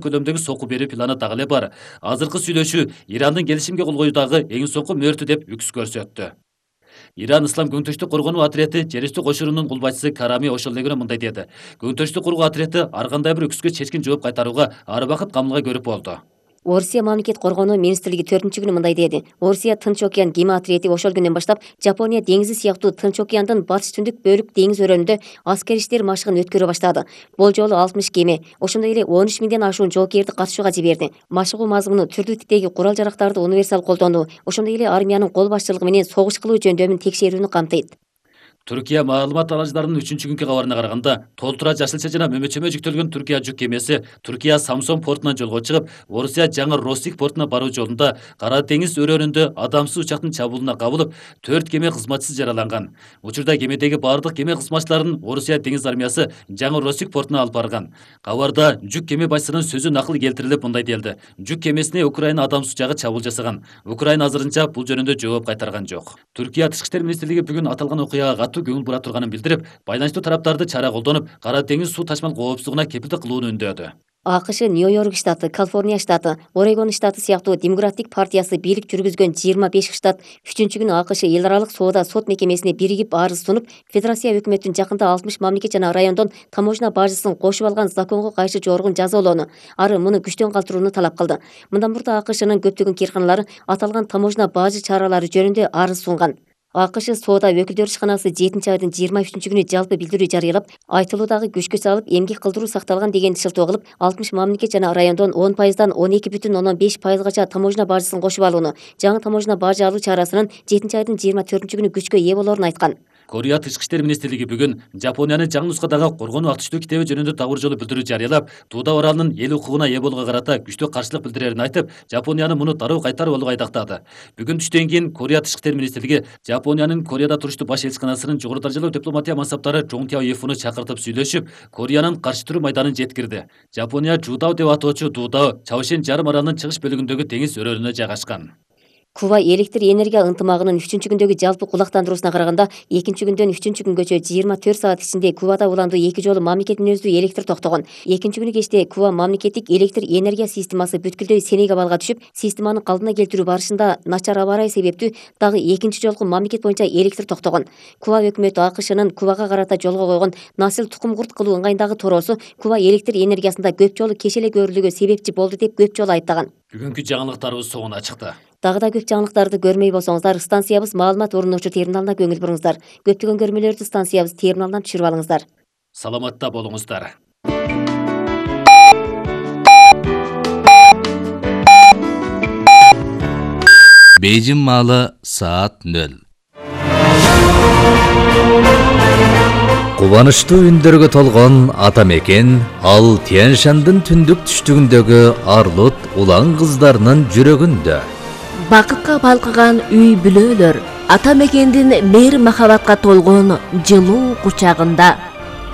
көлөмдөгү сокку берүү планы дагы эле бар. Азыркы сүйлөшүү Ирандын келишимге кол коюудагы эң соңку мөөртү деп үкс көрсөттү. Иран Ислам көңтөштүк коргонуу отряды Жерүстү кошунунун кул башчысы Карами Ошолдегине мындай деди. Көңтөштүк кургоо отряды ар кандай бир үкүскө чечкин жооп кайтарууга ар убакыт камылга көрүп болду. Орусия мамлекет коргонуу министрлиги 4-күнү мындай деди. Орусия Тынч океан кеме отряды ошол күндөн баштап Жапония деңизи сыяктуу Тынч океандын батыш түндүк бөлүк деңиз өрөөнүндө аскер иштер машыгын өткөрө баштады. Бул жолу 60 кеме, ошондой эле 13 миңден ашуун жоокерди катышууга жиберди. Машыгуу мазмуну түрдүү типтеги курал-жарактарды универсал колдонуу, ошондой эле армиянын кол башчылыгы менен согуш кылуу жөндөмүн текшерүүнү камтыйт. Түркия маалымат аралаждарынын 3-күnkү кабарына караганда, толтура жашылча жана мөмөчөмө жүктөлгөн Түркия жүк кемеси Түркия Самсон портунан жолго чыгып, Орусия жаңы Россик портуна баруу жолунда Кара деңиз өрөөнүндө адамсыз учактын чабуулуна кабылып, 4 кеме кызматчысы жараланган. Учурда кемедеги бардык кеме кызматчыларын Орусия деңиз армиясы жаңы Россик портуна алып барган. Кабарда жүк кеме башчысынын сөзү накыл келтирилип мындай делди. Жүк кемесине Украина адамсыз учагы чабуул жасаган. Украина азырынча бул жөнүндө жооп кайтарган жок. Түркия Тышкы иштер министрлиги бүгүн аталган окуяга көңүл бура турганын билдирип, байланыштуу тараптарды чара колдонуп, Кара деңиз суу ташмал коопсуздугуна кепилдик кылууну үндөөдү. АКШ Нью-Йорк штаты, Калифорния штаты, Орегон штаты сыяктуу Демократик партиясы бийлик жүргүзгөн 25 штат 3-күнү АКШ эл аралык соода сот мекемесине биригип арыз сунуп, федерация өкмөтүн жакында 60 мамлекет жана райондон таможня бажысын кошуп алган законго кайшы жоргун жазалоону, ары муну күчтөн калтырууну талап кылды. Мындан мурда АКШнын көптөгөн кирканалары аталган таможня бажы чаралары жөнүндө арыз сунган. АКШ соода өкүлдөр ишканасы 7-айдын 23-күнү жалпы билдирүү жарыялап, айтылуудагы күчкө салып эмгек кылдыруу сакталган деген шылтоо кылып, 60 мамлекет жана райондон 10%дан 12,5%гача таможня бажысын кошуп алууну, жаңы таможня бажы алуу чарасынын 7-айдын 24-күнү күчкө ээ болоорун айткан. Корея Тышкы иштер министрлиги бүгүн Жапониянын жаңы нускадагы коргонуу актүштүү китеби жөнүндө табыр жолу билдирүү жарыялап, Туда оралынын эл укугуна ээ болууга карата күчтүү каршылык билдирерин айтып, Жапонияны муну дароо кайтарып алууга айдактады. Бүгүн түштөн кийин Корея Тышкы иштер министрлиги Жапониянын Кореяда туруштуу баш элчиканасынын жогору даражалуу дипломатия мансаптары Чоң Тяоефуну чакыртып сүйлөшүп, Кореянын каршы туруу майданын жеткирди. Жапония Жудао деп атоочу Дудао Чаошен жарым аралынын чыгыш бөлүгүндөгү деңиз өрөөнүнө жайгашкан. Куба электр энергия ынтымагынын 3-күндөгү жалпы кулактандыруусуна караганда, 2-күндөн 3-күнгөчө 24 саат ичинде Кубада уланду 2 жолу мамлекет мүнөздүү электр токтогон. 2-күнү кечте Куба мамлекеттик электр энергия системасы бүткүлдөй сенек абалга түшүп, системаны калдына келтирүү барышында начар аба ырайы себептүү дагы 2 жолку мамлекет боюнча электр токтогон. Куба өкмөтү АКШнын Кубага карата жолго койгон насыл тукум курт кылуу ыңгайындагы тороосу Куба электр энергиясында көп жолу кешеле көрүлүүгө себепчи болду деп көп жолу айыптаган. Бүгүнкү жаңылыктарыбыз соңуна чыкты. Дагы да көп жаңылыктарды көрмөй болсоңуздар, станциябыз маалымат орунуучу терминалына көңүл буруңуздар. Көптөгөн көрмөлөрдү станциябыз терминалынан түшүрүп алыңыздар. Саламатта болуңуздар. Бейжин маалы саат 0. Кубанычтуу үндөргө толгон ата мекен ал Тянь-Шандын түндүк түштүгүндөгү арлут улан кыздарынын жүрөгүндө. Бакытка балкыган үй бүлөлөр ата мекендин мейир махабатка толгон жылуу кучагында.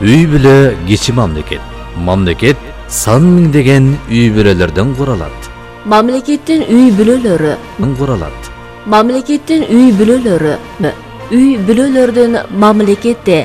Үй бүлө кичи мамлекет. Мамлекет сан миңдеген үй бүлөлөрдөн куралат. Мамлекеттин үй бүлөлөрү куралат. Мамлекеттин үй бүлөлөрү үй бүлөлөрдүн мамлекетте